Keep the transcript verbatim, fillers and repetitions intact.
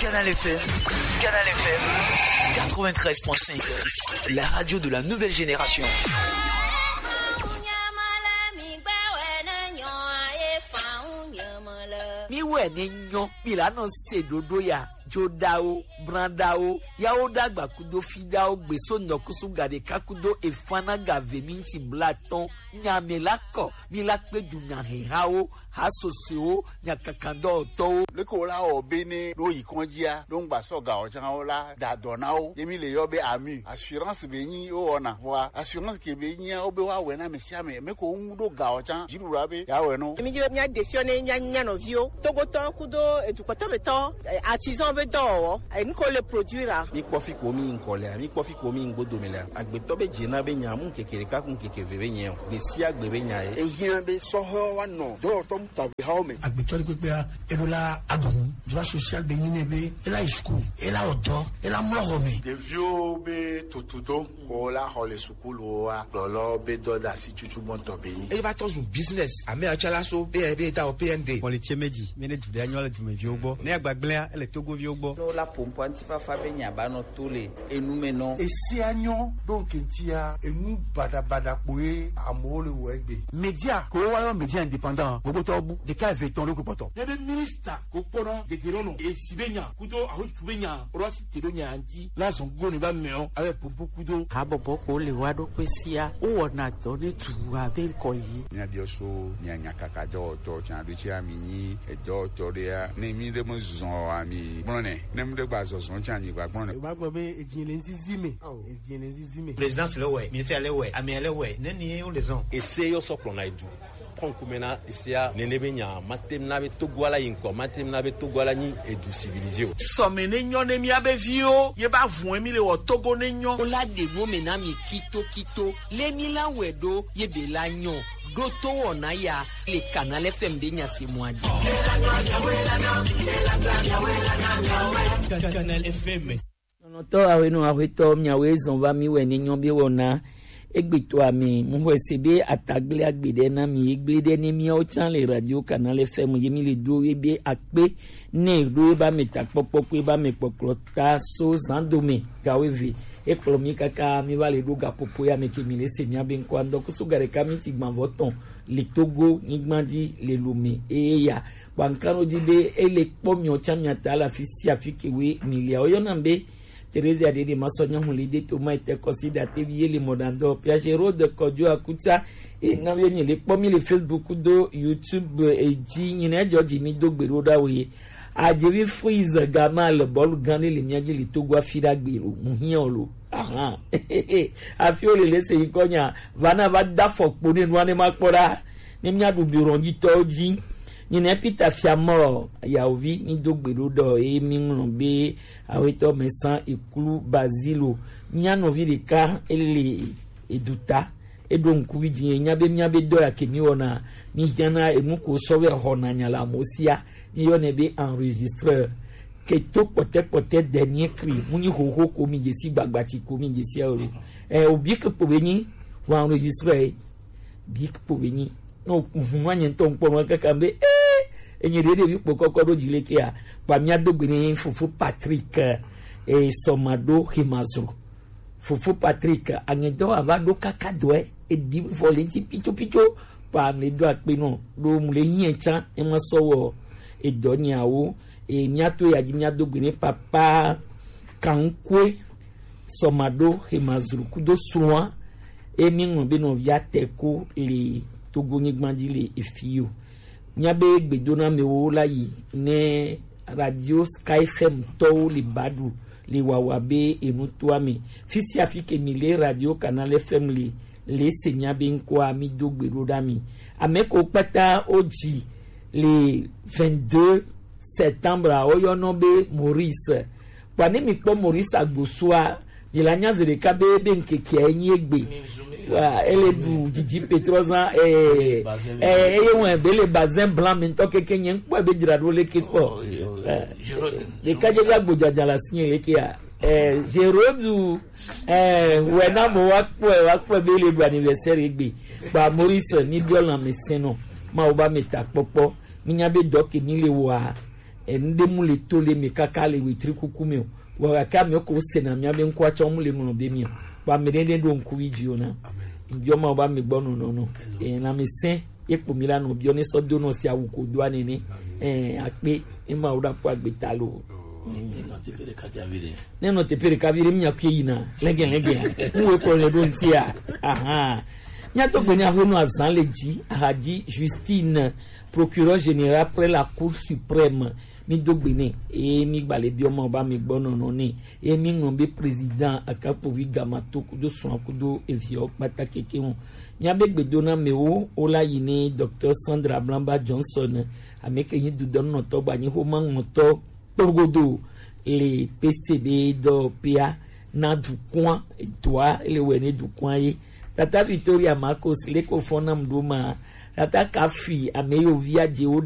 Canal F M. Canal F M. Quatre-vingt-treize point cinq. La radio de la nouvelle génération. Mi wɛ ne nyɔ, mi la nɔ se ɖoɖo ya, joɖawo, branɖawo, yawo ɖagba kudo fiɖawo, gbeso nɔkusu gaɖeka kudo efana gave mi ŋuti blatɔn, nya mi la kɔ, mi la kpe du nya hehawo, ha sosoewo, nya kakandɔtɔwo. Leke wo la wɔ be ne ɖo yi kɔndzia, ɖo ŋgba sɔ ga o can wo la da dɔ na wo. Ye mi le yɔ be ami, assurance be nyi wo wɔna. Vɔa, assurance ke be nyia, wo be wa wɛ na ame sia ame. Me ko ŋu ɖo ga o can, dziɖuɖua be ya wɛ no. Mi dzi be mia de fiɔ ne mia nya nɔviwo. Togotɔ kudo edukɔtɔ be tɔ, eh, artisan be dɔwɔwɔ, eh, nu ko le produire a. Mi kpɔ fi ko mi ŋkɔ lea, mi kpɔ fi ko mi ŋgbo dome lea. Agbetɔ be dze na be nya mu keke ɖeka kun keke ve be nyɛ o. Gbe sia gbe be nya ye. Ehiã be sɔhɔ wa nɔ dɔwɔtɔ mu ta be hawo me. Agbetɔ ɖe kpekpea, eɖo la aɖu nu. Droit social be nyi nɛ be, ela yi school, ela wɔ dɔ, ela mlɔ xɔ me. Ɖeviwo be tutudo, ko la xɔ le sukuluwoa, kplɔlɔ be dɔdasi tutu gbɔntɔ be nyi. Eva tɔ zu business, ame atsɔ la so, be, be ta o P N D. Xɔ le tse me dzi, mi ne du ɖe anyɔ le dumeviwo gbɔ. Ne agbagblẽa, ele Togoviwo gbɔ. Ne wo la ƒo ŋkɔ ŋutifafa be nya ba nɔ to le enu me nɔ. Esia nyɔ ɖo ŋke ŋutia, enu baɖabaɖa kpoe amewo le wɔ egbe. Media, ko wa yɔ media indépendant, gbogbo tɔ bu, ɖeka eve etɔ̃ ɖo kpɔtɔ. Ne be minista ko kpɔna gegero nɔ, esi be nya, kudo ahotu be nya, rɔ ti te ɖo nya ŋuti, la zɔn go ne ba mɛ o, abe pompo kudo. Habɔbɔ ko le wa ɖo kpe sia, wo wɔna dɔ ne tu abe ŋkɔ yi. Mia biɔ so, mia nya kaka dɔwɔtɔ, tsa ɖo tsi ami nyi, edɔwɔtɔ ɖe ya, ne mi ɖe me zɔn ami, gblɔ nɛ, ne mi ɖe gba zɔzɔn tsa nyi gba gblɔ nɛ. Wa gbɔ be edzi le ŋzizi me. Ao. Edzi le ŋzizi me. Présidence le wɛ, ministère le wɛ, amia le wɛ, ne ni wo le zɔn. Ese yɔ sɔ kplɔ na edu. Kɔnkume na esea nene be nya, matem na be Togo ala yi ŋkɔ, matem na be Togo ala nyi edu civilisé o. Sɔme ne nyɔ ne mia be viwo, ye ba vun mi le wɔ Togo ne nyɔ. Wo la ɖe nu me na mi kito kito, le mi la wɛ ɖo, ye be la nyɔ, ɖo to wɔna ya, le Canal F M be nya se mɔ a dzi. Canal F M. Nɔnɔtɔ awenɔ aƒetɔ miawoe zɔn va mi wɛ ne nyɔ be wɔna. Egbe to ame, mu xɔe se be atagble agbe ɖe na mi, egble ɖe ne miawo tsã le Radio Canal F M ye mi le do ye be akpe ne ɖo ye ba me takpɔkpɔ kpe ba me kpɔkplɔ ta so zan do me gawo eve. Ekplɔ mi kaka mi va le ɖo gaƒoƒo ya me ke mi le se mia be ŋkɔ andɔ kusu ga ɖeka mi ti gbãvɔ tɔn le Togo nyigba dzi le Lome eye ya. Kpankano dzi be ele kpɔ miawo tsã mia ta le afi sia afi ke we mi lia. Woyɔna be Teresia ɖeɖe masɔ nyɔnu li de to ma ete kɔsi ɖa tevi ye le mɔɖaŋdɔ Piaget Road kɔdzo akutsa. E na ye mi le kpɔ mi le Facebook do YouTube e dzi nyi ne dzɔ dzi mi do gbe ɖo ɖa wo ye. Adzevi Freeze Gama le bɔlu gã ɖe le mia dzi le Togo afi ɖa gbe lo mu hiã o lo. Ahan. Afi wo le le se yi kɔ nya va na va da fɔ kpo ne nua ne ma kpɔ ɖa. Ne mia ɖu bureau dzi tɔ dzi. Nyi ne Peter Fiamɔ yawovi mi do gbe ɖo ɖɔ ye mi ŋlɔ be Awetɔ Mɛsan Eklu Bazilo, mia nɔvi ɖeka ele eduta, eɖo ŋkuvi dzi nya be mia be dɔ ya ke mi wɔna, mi hiana enu ko sɔ vɛ xɔna nya le amewo sia, mi yɔnɛ be enregistreur. Ke to kpɔtɛkpɔtɛ dɛ mi ekri, mu nyi xoxo ko mi dzesi gbagbati ko mi dzesi alo. Ɛ, obi ke kpo be nyi, wa enregistreur. Big po be nyi. No, mhm, anye ŋutɔ ŋkpɔ nua kaka be, eh, enye ɖe ɖevi kpokɔkɔ ɖo dzi le kea, kpa mia do gbe ne fofo Patrick, eh, Sɔmaɖo Hemazro. Fofo Patrick, anye dɔ ava ɖo kaka dɔɛ, eɖi vɔ le ŋuti pitso pitso, kpa mle do akpe nɔ, ɖo mle hiɛ tsã, ema sɔ wɔ edɔ nyawo, e mia to ya dzi mia do gbe ne papa Kankwe. Sɔmaɖo Hemazru kudo srɔ̃a, eye míeŋlɔ be nɔvia te ko le Togo nyigba dzi le efi o. Míabe gbedonamewo la yi ne Radio Sky F M tɔwo le ba ɖu le wawa be enu toa me. Fi sia fi ke mi le Radio Canal F M le, le se míabe ŋkɔa, mi do gbe ɖo ɖa mi. Ame ko kpata wo dzi le vingt-deux septembre, woyɔnɔ be Maurice. Kpa ne mi kpɔ Maurice Agbosua, mi la nya zi ɖeka be, be ŋkekea ye nyi egbe. Wa, ele ɖu didi petrozan, eh, eh, eye wɔn be le bazin blanc me ŋutɔ keke nye ŋkpɔe be dzra ɖo leke kpɔ. Eh, ɖeka dze be agbodzaza le asi nye lekea. Eh, Géraud, eh, wɛ na mo wa kpɔe, wa kpɔe be le ɖu anniversaire egbe. Kpa Maurice, mi biɔ lãmesẽnɔ, Mawu ba mi ta kpɔkpɔ. Mi nya be dɔ ke mi le wɔa, Enu ɖe mu le to le mi kaka le wetri kuku mi o. Wa gake ame ko se na mi abe ŋkua tsɔ mu le ŋlɔ be mi o. Wa me ɖe ɖe ɖo ŋku vi dzi o na. Biɔ ma ba mi gbɔ nɔnɔ nɔ. E na mi sɛn. Ye kpo mi la nɔ biɔ ne sɔ do nɔ si awu ko do anene. E akpe e ma wo da po agbe ta lo. Ne nɔ teƒe ɖeka vi ɖe mi nya kue yina lege lege. Ŋu wo kɔ le ɖo ŋtia. Aha. Mia to gbe ne aho no azan le dzi. Aha dzi Justine, procureur général près la Cour suprême. Mi do gbe nɛ eye mi gba le biɔ ma ba mi gbɔ nɔnɔ nɛ eye mi ŋlɔ be président akakpovi gama to kudo srɔ̃a kudo eviawo kpata keke ŋu. Mia be gbedona mewo wo la yi ne Docteur Sandra Blamba Johnson, ame ke nyi dudɔnunɔtɔ gba nyi xoma ŋɔtɔ kporogodo le P C B dɔ pea na dukɔa, dɔa ele wɛ ne dukɔa ye. Tata Victoria Marcos le ko fɔ nam ɖo ma. Tata Kafi ame yo via dze wo